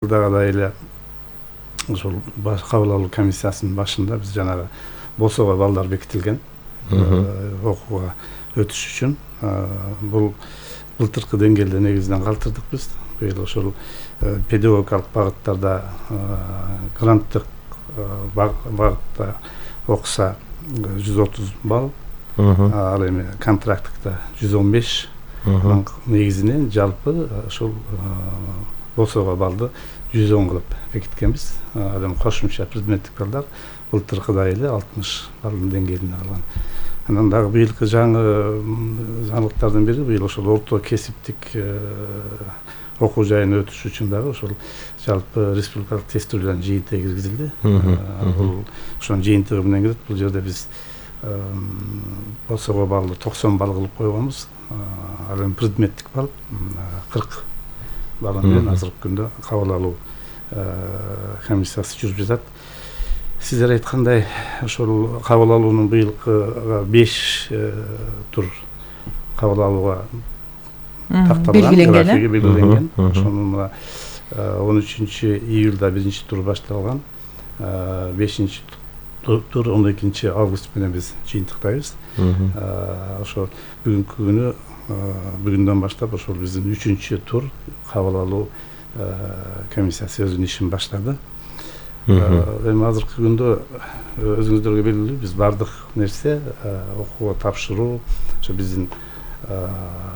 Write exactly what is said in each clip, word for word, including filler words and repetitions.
Жылдагыдай эле ошол кабыл алуу комиссиясынын башында биз жанагы болсого балдар бекитилген окууга өтүш үчүн. Бул былтыркы деңгээлде негизинен калтырдык биз. Быйыл ошол педагогикалык багыттарда гранттык багытта окуса жүз отуз балл, ал эми контракттыкта жүз он беш, негизинен жалпы ошол болсого балды жүз он кылып бекиткенбиз. Ал эми кошумча предметтик балдар былтыркыдай эле алтымыш балдын деңгээлинде калган. Анан дагы быйылкы жаңы жаңылыктардын бири быйыл ошол орто кесиптик окуу жайына өтүш үчүн дагы ошол жалпы республикалык тестөөлөрдүн жыйынтыгы киргизилди. Бул ошонун жыйынтыгы менен кирет. Бул жерде биз болсого балды токсон балл кылып койгонбуз. Ал эми предметтик балл кырк балл менен азыркы күндө кабыл алуу комиссиясы жүрүп жатат. Сиздер айткандай ошол кабыл алуунун быйылкы беш тур кабыл алууга такталган, графиги белгиленген. Ошонун он үчүнчү июлда биринчи тур башталган, бешинчи тур он экинчи август менен биз жыйынтыктайбыз. Ошо бүгүнкү күнү бүгүндөн баштап ошол биздин үчүнчү тур кабыл алуу комиссиясы өзүнүн ишин баштады. Эми азыркы күндө өзүңүздөргө белгилүү, биз бардык нерсе окууга тапшыруу ошо биздин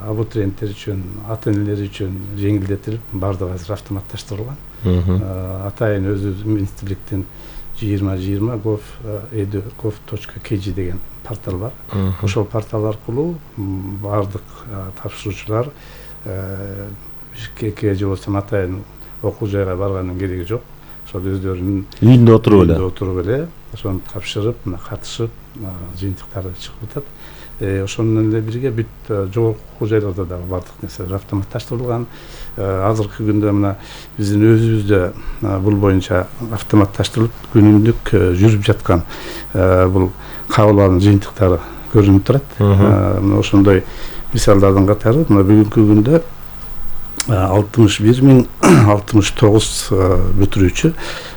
абитуриенттер үчүн, ата энелер үчүн жеңилдетилип, бардыгы азыр автоматташтырылган. Атайын өзү министрликтин жыйырма жыйырма gov edu gov точка kg деген портал бар. Ошол портал аркылуу бардык тапшыруучулар бишкекке же болбосо атайын окуу жайга барганын кереги жок. Ошол өздөрүнүн үйүндө отуруп эле отуруп эле ошону тапшырып, катышып, жыйынтыктары чыгып атат. Ошону менен эле бирге бүт жогорку окуу жайларда дагы бардык нерселер автоматташтырылган. Азыркы күндө мына биздин өзүбүздө бул боюнча автоматташтырылып күнүмдүк жүрүп жаткан бул кабыл алуунун жыйынтыктары көрүнүп турат. Мына ошондой мисалдардын катары мына бүгүнкү күндө алтымыш бир миң алтымыш тогуз бүтүрүүчү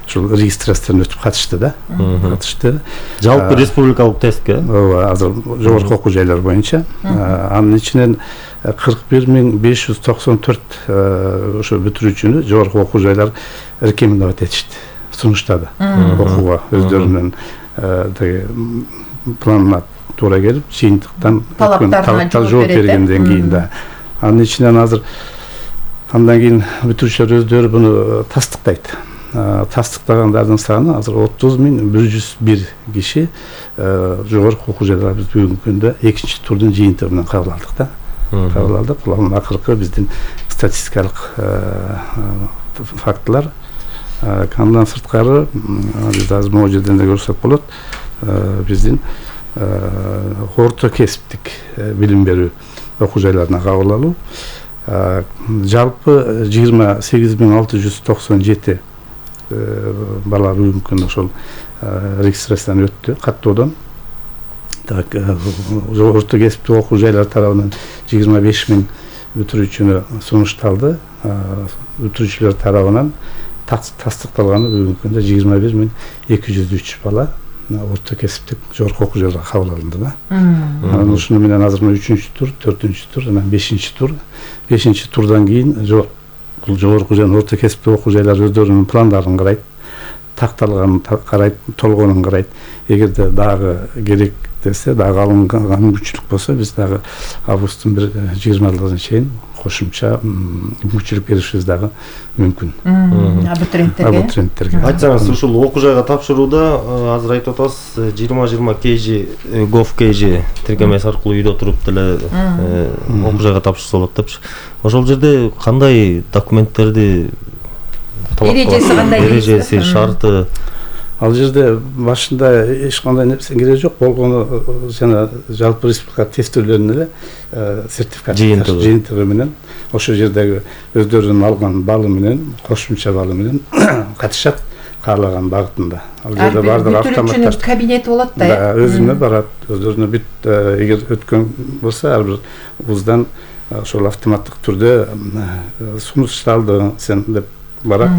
ошол регистрациядан өтүп катышты да. Катышты. Жалпы республикалык тестке. Ооба, азыр жогорку окуу жайлар боюнча. Анын ичинен кырк бир миң беш жүз токсон төрт ошо бүтүрүүчүнү жогорку окуу жайлар рекомендовать этишти, сунуштады окууга өздөрүнүн теги планына туура келип, жыйынтыктан талаптарына жооп бергенден кийин да. Анын ичинен азыр андан кийин бүтүрүүчүлөр өздөрү буну тастыктайт. Тастыктагандардын саны азыр отуз миң бир жүз бир киши жогорку окуу жайларга биз бүгүнкү күндө экинчи турдун жыйынтыгы менен кабыл алдык да. Кабыл алдык. Бул акыркы биздин статистикалык фактылар. Андан сырткары биз азыр могу жерден да көрсөк болот. Биздин орто кесиптик билим берүү окуу жайларына кабыл алуу жалпы жыйырма сегиз миң алты жүз токсон жети бала бүгүнкү күндө ошол регистрациядан өттү каттоодон. Так, орто кесиптик окуу жайлар тарабынан жыйырма беш миң бүтүрүүчүнү сунушталды. Бүтүрүүчүлөр тарабынан тастыкталганы бүгүнкү күндө жыйырма бир миң эки жүз үч бала орто кесиптик жогорку окуу жайларга кабыл алынды да. Анан ушуну менен азыр үчүнчү тур, төртүнчү тур, анан бешинчи тур. бешинчи турдан кийин бул жогорку жана орто кесиптик окуу жайлар өздөрүнүн пландарын карайт, такталганын карайт, толгонун карайт. Эгерде дагы керек десе, дагы алынган мүмкүнчүлүк болсо, биз дагы августтун бир жыйырмалыгына чейин кошумча мүмкүнчүлүк беришибиз дагы мүмкүн. Абитуриенттерге. Абитуриенттерге. Айтсаңыз, ушул окуу жайга тапшырууда азыр айтып атасыз, жыйырма жыйырма kg gov kg тиркемеси аркылуу үйдө отуруп деле окуу жайга тапшырса болот депчи. Ошол жерде кандай документтерди эрежеси кандай? Эрежеси, шарты. Ал жерде башында эч кандай нерсе кереги жок. Болгону жана жалпы республика тестөөлөрүнүн эле сертификат жыйынтыгы менен ошол жердеги өздөрүнүн алган баллы менен, кошумча баллы менен катышат каалаган багытында. Ал жерде бардыгы автоматташтырылган кабинети болот да. Да, өзүнө барат, өздөрүнө бүт эгер өткөн болсо ар бир вуздан ошол автоматтык түрдө сунушталды сен деп Бирок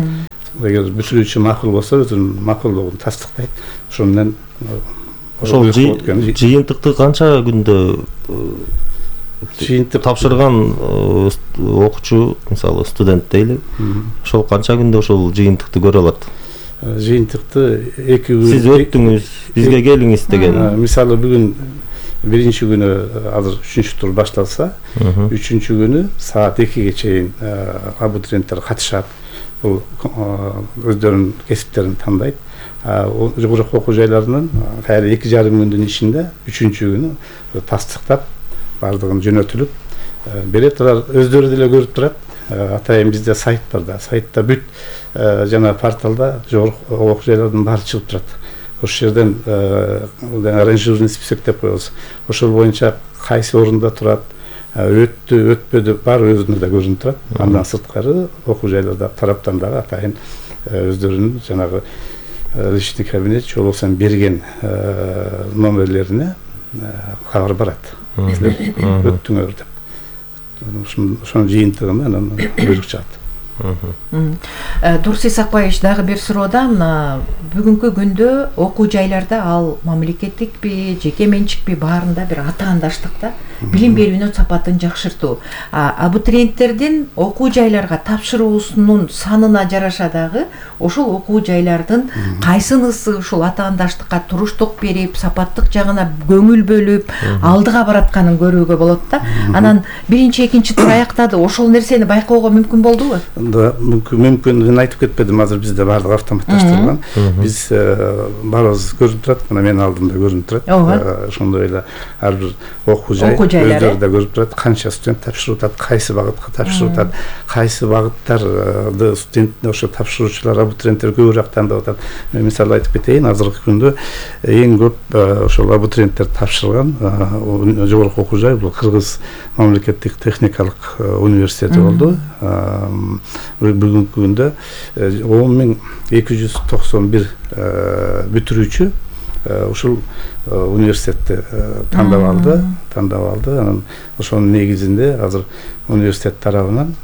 эгер бүтүрүүчү макул болсо өзүнүн макулдугун тастыктайт. Ошо менен ошол жыйынтыкты канча күндө жыйынтык тапшырган окуучу, мисалы студент дейли, ошол канча күндө ошол жыйынтыкты көрө алат? Жыйынтыкты эки күн сиз өттүңүз, бизге келиңиз деген. Мисалы бүгүн биринчи күнү азыр үчүнчү тур башталса, үчүнчү күнү саат экиге чейин абитуриенттер катышат. Бул өздөрүнүн кесиптерин тандайт. Жогорку окуу жайларынын кайра эки жарым күндүн ичинде үчүнчү күнү тастыктап бардыгын жөнөтүлүп берет. Алар өздөрү деле көрүп турат. Атайын бизде сайт бар да, сайтта бүт жана порталда жогорку окуу жайлардын баары чыгып турат. Ошол жерден аранжированный список деп коебуз. Ошол боюнча кайсы орунда турат, өттү, өтпөдү баары өзүндө көрүнүп турат. Андан сырткары окуу жайларда тараптан дагы атайын өздөрүнүн жанагы личный кабинет же болбосо берген номерлерине кабар барат. Өттүңөр деп. Ошонун жыйынтыгында анан буйрук чыгат. Турсий Сакбаевич, дагы бир суроода, мына бүгүнкү күндө окуу жайларда ал мамлекеттикпи, жеке менчикпи, баарында бир атаандаштыкта билим берүүнүн сапатын жакшыртуу. Абитуриенттердин окуу жайларга тапшыруусунун санына жараша дагы ошол окуу жайлардын кайсынысы ушул атаандаштыкка туруштук берип, сапаттык жагына көңүл бөлүп, алдыга баратканын көрүүгө болот да. Анан биринчи, экинчи тур аяктады. Ошол нерсени байкоого мүмкүн болдубу? Да, мүмкүн, мүмкүн. Мен айтып кетпедим, азыр бизде баардыгы автоматташтырылган. Биз баарыбыз көрүнүп турат, мына менин алдымда көрүнүп турат. Ошондой эле ар бир окуу жай өздөрү да көрүп турат, канча студент тапшырып атат, кайсы багытка тапшырып атат, кайсы багыттарды студент ошо тапшыруучулар, абитуриенттер көбүрөөк тандап атат. Мен мисалы айтып кетейин, азыркы күндө эң көп ошол абитуриенттер тапшырган жогорку окуу жай бул Кыргыз мамлекеттик техникалык университети болду. Бүгүнкү күндө он миң эки жүз токсон бир бүтүрүүчү ушул университетти тандап алды, тандап алды. Анан ошонун негизинде азыр университет тарабынан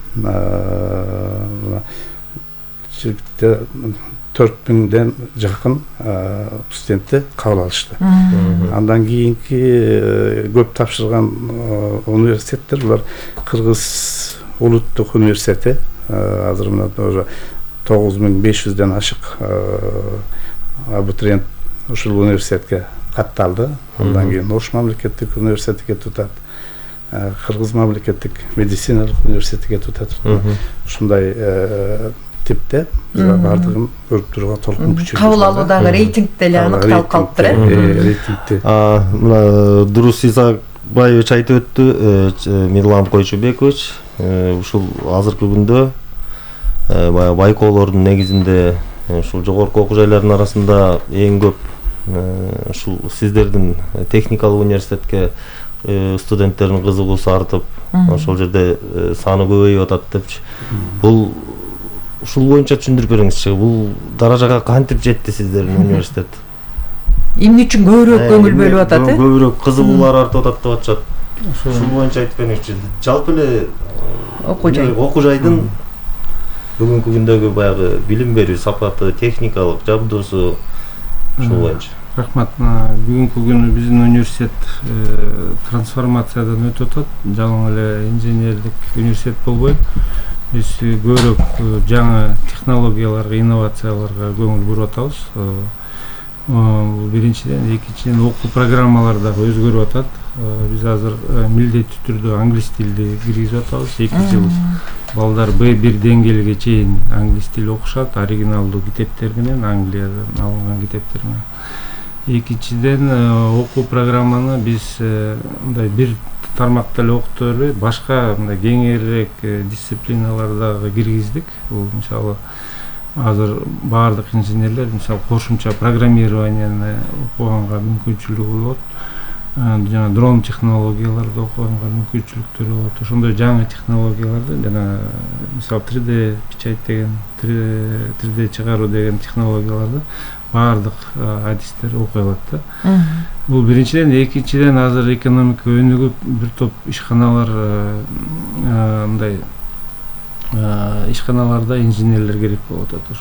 төрт миңден жакын студентти кабыл алышты. Андан кийинки көп тапшырган университеттер булар Кыргыз улуттук университети. Азыр мына уже тогуз миң беш жүздөн ашык абитуриент ушул университетке катталды. Андан кийин Ош мамлекеттик университетиге тутат, Кыргыз мамлекеттик медициналык университетиге тутат. Ушундай типте баардыгын көрүп турууга толкун күчү. Кабыл алуудагы рейтингде эле аныкталып калыптыр, э? Рейтингде. Мына Турсий Сакбаевич айтып өттү, Мирлан Койчубекович, ушул азыркы күндө баягы байкоолордун негизинде ушул жогорку окуу жайлардын арасында эң көп ушул сиздердин техникалык университетке студенттердин кызыгуусу артып, ошол жерде саны көбөйүп атат депчи. Бул ушул боюнча түшүндүрүп бериңизчи. Бул даражага кантип жетти сиздердин университет? Эмне үчүн көбүрөөк көңүл бөлүп атат, э? Көбүрөөк кызыгуулар артып атат деп атышат. Ушул боюнча айтып бериңизчи. Жалпы эле окуу жай, окуу жайдын бүгүнкү күндөгү баягы билим берүү сапаты, техникалык жабдуусу ушул боюнча. Рахмат. Бүгүнкү күнү биздин университет трансформациядан өтүп атат. Жалаң эле инженерлик университет болбой, биз көбүрөөк жаңы технологияларга, инновацияларга көңүл буруп атабыз. Бул биринчиден, экинчиден окуу программалары дагы өзгөрүп атат. Биз азыр милдеттүү түрдө англис тилди киргизип атабыз. эки жыл балдар бэ бир деңгээлге чейин англис тили окушат, оригиналдуу китептер менен, Англиядан алынган китептер менен. Экинчиден, окуу программаны биз мындай бир тармакта эле окута бербей, башка мындай кеңирээк дисциплиналарды дагы киргиздик. Бул мисалы азыр баардык инженерлер мисалы кошумча программированияны окуганга мүмкүнчүлүгү болот. Жана дрон технологияларды окуганга мүмкүнчүлүктөр болот. Ошондой жаңы технологияларды, жана мисалы три дэ печать деген, три дэ чыгаруу деген технологияларды баардык адистер окуй алат да. Бул биринчиден, экинчиден азыр экономика өнүгүп, бир топ ишканалар мындай ишканаларда инженерлер керек болуп атат.